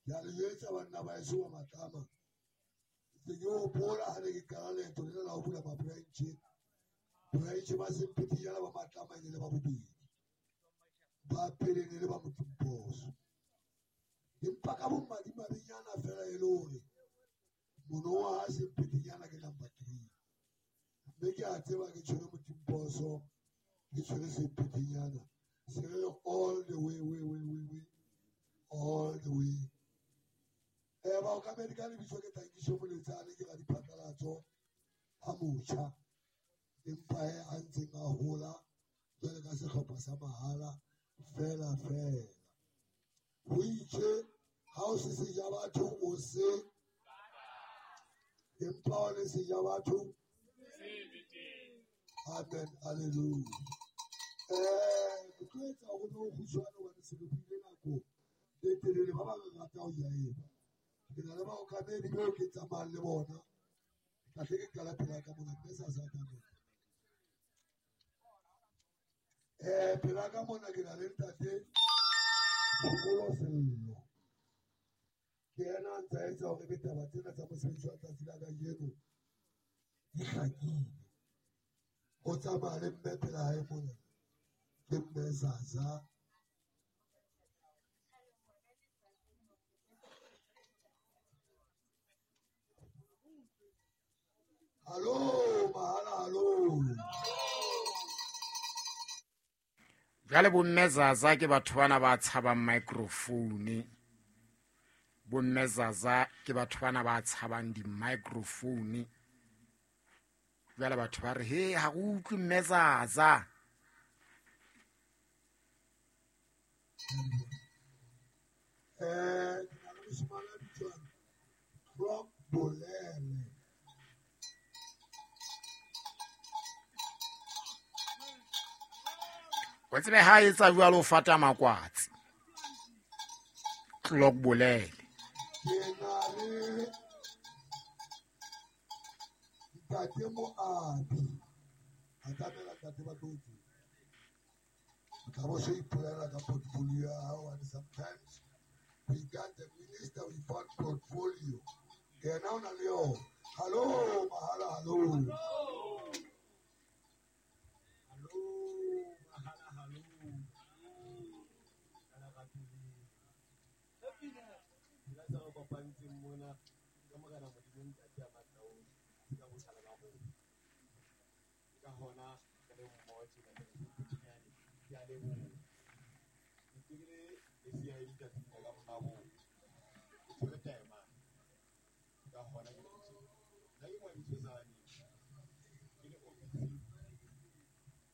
Ke a le jwetsa banna ba heso ba Matlama. Ntse ke hopola ha ne ke qala leeto lena la ho bula ma-branch. Branch ba Semphetinyana ba Matlama e ne le ba bobedi. Ba pele ne le ba Motimposo. Empa ka bomadimabenyana fela e le hore monowa ha Semphetinyana ke number 3. Mme ke a tseba ke tshwere Motimposo, ke tshwere Semphetinyana. Se re all the way, way, way, way, way, all the way. Baokamedi ka lebitso ke Tankiso Moletsane, ke radiphatlalatso a motjha, empa he a ntseng a hola jwale ka sehlopha sa mahala fela fela. Ho itse ha o se seja batho o se, empa o le seja batho. Amen, hallelujah. Ke tlo etsa hore be o kgutshwane hobane se re buile nako e telele. Ba bang re rata ho ya eba. Ke na le baokamedi beo ke tsamayang le bona. Ke tla hle ke qala pela ka mona, mme sa sa tsamaya. Pela ka mona ke na le ntate Phomolo Sello. Ke yena a ntse a etsa hore ebe taba tsena tsa mosebetsi wa tsatsi la kajeno di hlakile. O tsamaya le mme pela hae mona, ke mme Zaza. Hallo, mahala, hallo. Jwale bomme Zaza ke batho bana ba tshabang microphone. Bomme Zaza ke batho bana ba tshabang di-microphone. Jwale batho ba re, he, ha re utlwe mme Zaza. Ke na le moshemane a bitswang Clock Bolele. O tsebe ha etsa jwalo o fata makwatsi. Clock Bolele. Ke na le ntate Moabi. A tlamela ntate ba tlo tseba. O tla bo so ipolela ka portfolio ya hao, and sometimes we got the minister without portfolio. Yena o na le yona. Hallo, mahala, hallo. Hallo, mahala, hallo. Ka lerato le. Dira tse re kopantseng mona ka Morena Modimo Ntate a matla ohle, se ka botjhala ba rona. Ke ka hona re le mmoho tjena ke re Semphetinyane, ke a leboha. Ke ntse ke le lesea e letsatsing la ka monga rona. Ke tshwere taemane. Ke ka hona ke leng tjena. Nna ke Moabi Tshosane, ke le ofising,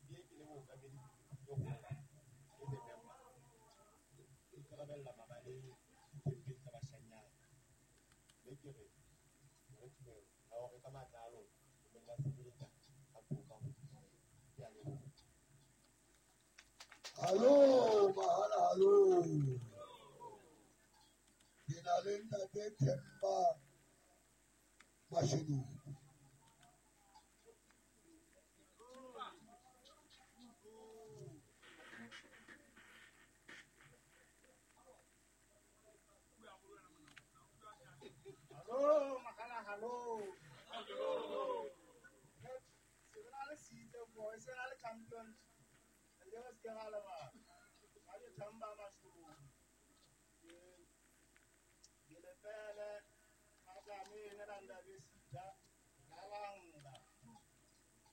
ebile ke le mookamedi e kgolo, as a member. Ke ikarabella mabaleng dikempeng tsa bashanyana. Mme ke re, re tumelo ya hore ka matla a lona le nka sebeletsa ka toka ho Modimo. Ke a leboha. Hallo, mahala, hallo. Ke na le ntate Themba Mashinuku. Hallo, mahala, hallo. Se re na le season boy, se na le champions. Le re se ke ra lebala. Ga ke Themba Mashinuku. Ke lepele, Madlamini la Ndabezitha, Nalanga.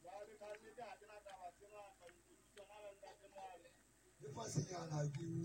Jwale ka nnete ha ke na taba tse ngata, ntse ke tsona le ntate Moabi. Le fasenyana ke